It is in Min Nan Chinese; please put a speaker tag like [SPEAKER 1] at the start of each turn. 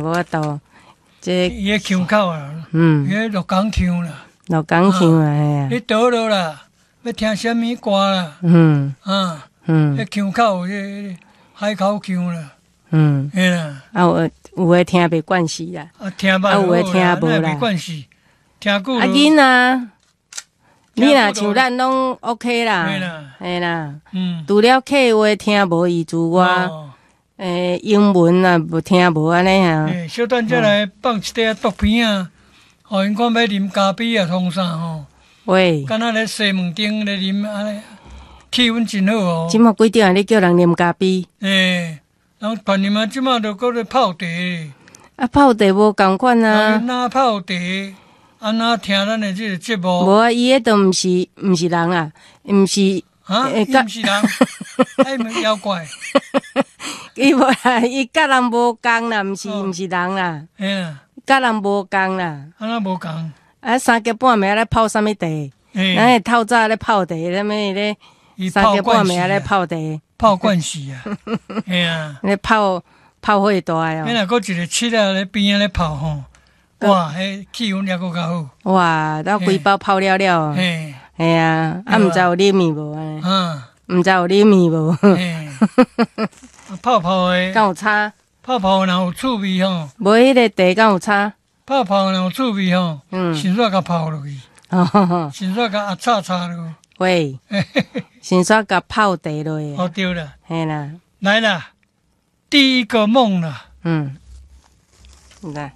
[SPEAKER 1] 無法度。這
[SPEAKER 2] 伊的腔口啊，伊的鹿港腔啦，
[SPEAKER 1] 鹿港腔啊，嘿啊。
[SPEAKER 2] 你倒落啦，欲聽啥物歌啦？啊，彼腔口，彼海口腔啦。嘿啦。
[SPEAKER 1] 啊，有有的聽袂慣勢啦。
[SPEAKER 2] 啊，聽捌
[SPEAKER 1] 啊，有的聽無啦。
[SPEAKER 2] 袂慣勢，聽久。
[SPEAKER 1] 啊，囡仔，你若像咱攏 OK 啦。
[SPEAKER 2] 嘿啦。
[SPEAKER 1] 嘿啦。除了客話聽無伊之外，英文啊，無聽無按呢啊。
[SPEAKER 2] 欸，小等才來放一塊毒片啊，予𪜶看欲啉咖啡啊，創啥吼？
[SPEAKER 1] 喂。
[SPEAKER 2] 敢若咧西門町咧啉按呢，氣氛真好哦。
[SPEAKER 1] 這馬幾點啊？你叫人啉咖啡？
[SPEAKER 2] 欸，人傳啉啊，這馬就閣咧泡茶。
[SPEAKER 1] 啊，泡茶無仝款啊。
[SPEAKER 2] 哪泡茶？按怎聽咱的這個節目？
[SPEAKER 1] 無啊，伊彼都毋是人啊，毋是。
[SPEAKER 2] 啊，伊毋是人，伊毋妖怪。
[SPEAKER 1] 伊無啦，伊佮人無仝啦，毋是人啦。
[SPEAKER 2] 嘿啦。
[SPEAKER 1] 佮人無仝啦。
[SPEAKER 2] 按怎無仝？
[SPEAKER 1] 啊，三更半暝咧泡啥物茶？咱會透早咧泡茶，啥物咧？三更半暝咧泡茶。
[SPEAKER 2] 泡慣勢啊！嘿啊！
[SPEAKER 1] 咧泡泡火大哦。
[SPEAKER 2] 彼若閣一個七仔咧邊仔咧泡吼，哇！彼氣氛猶閣較好。
[SPEAKER 1] 哇！到規包泡了了。
[SPEAKER 2] 嘿。
[SPEAKER 1] 嘿啊，啊，毋知有啉伊無按呢？毋知有啉伊無？
[SPEAKER 2] 泡泡的。
[SPEAKER 1] 敢有差？
[SPEAKER 2] 泡泡若有趣味吼。
[SPEAKER 1] 無彼个茶敢有差？
[SPEAKER 2] 泡泡若有趣味吼，先煞共泡落去，先煞共壓炒炒落。
[SPEAKER 1] 喂，先煞共泡茶落去。
[SPEAKER 2] 哦，對啦。
[SPEAKER 1] 嘿啦。
[SPEAKER 2] 來啦，第一個夢啦。
[SPEAKER 1] 來。